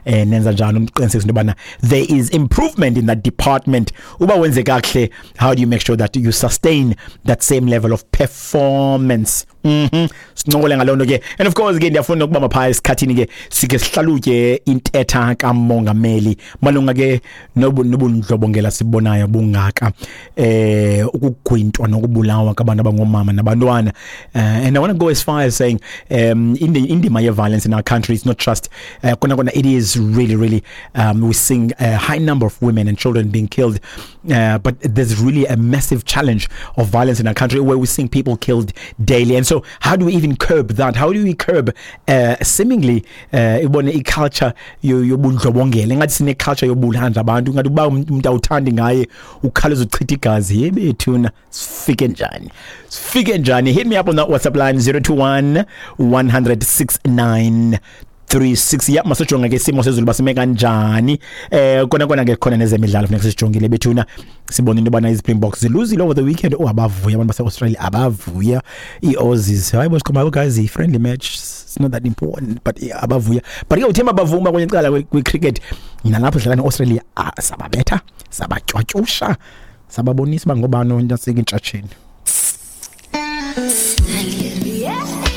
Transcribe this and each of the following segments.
Nenza njani ukuqinisekisa into yobana there is improvement in that department? Uba wenze kakuhle, how do you make sure that you sustain that same level of performance? Sincokole ngaloo nto ke. And of course ke ndiyafuna ukubamba phaa esikhathini ke, sike sihlalutye intetha kamongameli malunga ke nobundlobongela sibonayo bungaka, ukugwintwa nokubulawa kwabantu abangoomama nabantwana. And I want to go as far as saying indima ye-violence in our country is not just kona kona, it is really really, we're seeing a high number of women and children being killed, but there's really a massive challenge of violence in our country where we're seeing people killed daily. And so how do we even curb that? How do we curb seemingly ibone i-culture yobundlobongela? Ingathi sine-culture yobulanda abantu, ngathi uba umuntu awuthandi ngaye ukhawuleza uchitha igazi. Yebethuna, sifike njani, sifike njani? Hit me up on that WhatsApp line, 021 100 36. Ya, masijonge ke isimo sezulu basime kanjani. Kona kona ke khona nezemidlalo funeka sisijongile bethuna, sibone into yobana iZpringboks ziluzile over the weekend. Oh, abavuya abantu base-Australia, abavuya ii-Aussies. Hayi bo, sikhomba guys, i-friendly match, it's not that important, but yeah, abavuya. But ke uThemba Bavuma kwenye icala kwi-cricket nalapho dlala ne-Australia, ah, sababetha, sabatywatyusha, sababonisa uba ngobani ontasika intshatsheni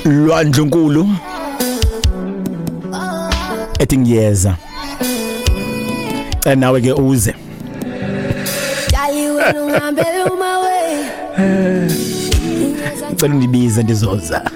lwandlunkulu ethi ngiyeza. Cela nawe ke uze. Dali wena ungihambele uma we Cela undibize, ndizoza.